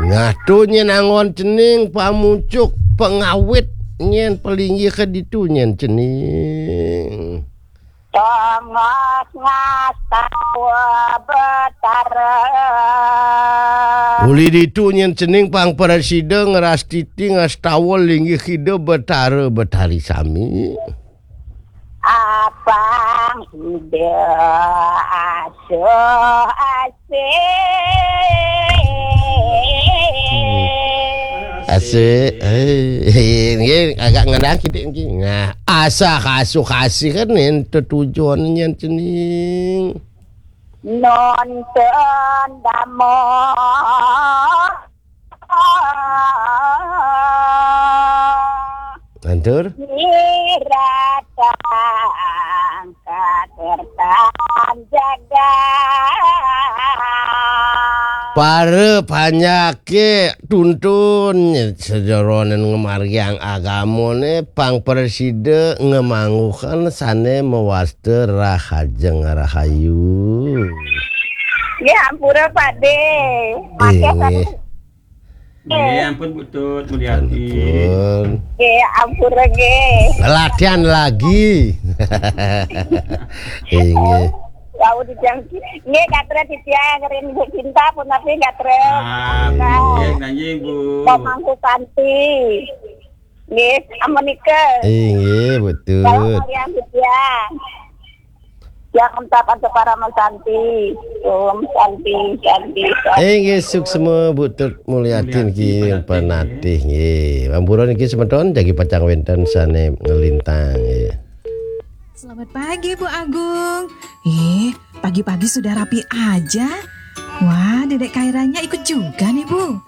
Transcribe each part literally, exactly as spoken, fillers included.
Nah, tu nyen anggon cening pamucuk pengawit nyen pelinggih ke ditu nyen cening. Tongos ngastawa Betara. Uli ditu nyen cening pang prasida ngrastiti ngastawa linggih Ida Betara Betari sami. Apang Ida asuh asih. Asik. Eh, nggih, agak ngendang kidik nggih. Nah, asah asuh kasih kan ento tujuan nyen cening. Nonton damo. Lantur. Niratang kakertan jagat. Para panyake tuntun sejeroning ngamargiang agamane pang prasida ngamangguhken sane mawasta rahajeng rahayu. Nggih, ampura, Pakde. Akeh Inggih. Nggih, ampun, Bu Tut Mulyati. Ampun. Nggih, ampura nggih. Latihan lagi. Inggih. Wau dijangki. Nggih, gatra titiang ring Bu Cinta punapi gatra. Ah, nggih, nggih, Bu. Pemangku Santi. Nggih, amunika. Inggih, Bu Tut. Salam kalian titiang. Yang entap antuk parama santi. Om Santi, Santi, Santi. Inggih, suksma Bu Tut Mulyati niki penatih nggih. Ampura niki semeton jagi pacang wenten sane nglintang nggih. Selamat pagi, Bu Agung. Eh, pagi-pagi sudah rapi aja. Wah, Dedek Kairanya ikut juga nih, Bu.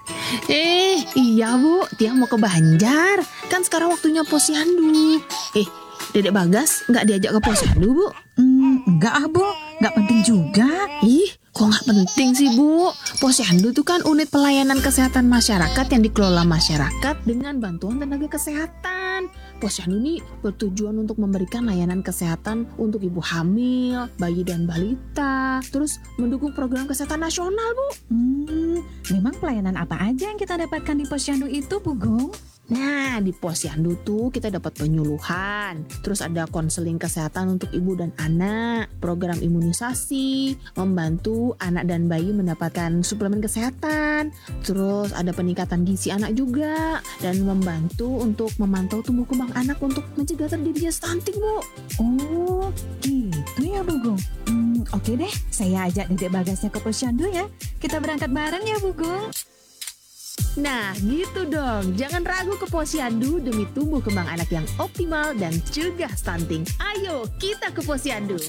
Eh, iya, Bu. Tiang mau ke Banjar. Kan sekarang waktunya posyandu. Eh, Dedek Bagas nggak diajak ke posyandu, Bu? Hmm, enggak ah, Bu. Nggak penting juga. Ih, kok nggak penting sih, Bu? Posyandu tuh kan unit pelayanan kesehatan masyarakat yang dikelola masyarakat dengan bantuan tenaga kesehatan. Posyandu ini bertujuan untuk memberikan layanan kesehatan untuk ibu hamil, bayi dan balita, terus mendukung program kesehatan nasional, Bu. Hmm, memang pelayanan apa aja yang kita dapatkan di posyandu itu, Bu Gung? Nah, di posyandu tuh kita dapat penyuluhan, terus ada konseling kesehatan untuk ibu dan anak, program imunisasi, membantu anak dan bayi mendapatkan suplemen kesehatan, terus ada peningkatan gizi anak juga, dan membantu untuk memantau tumbuh kembang anak untuk mencegah terjadinya stunting, Bu. Oh, gitu ya, Bu Gung. Hmm, oke deh, saya ajak Dedek Bagasnya ke posyandu ya. Kita berangkat bareng ya, Bu Gung. Nah, gitu dong. Jangan ragu ke posyandu demi tumbuh kembang anak yang optimal dan cegah stunting. Ayo, kita ke posyandu.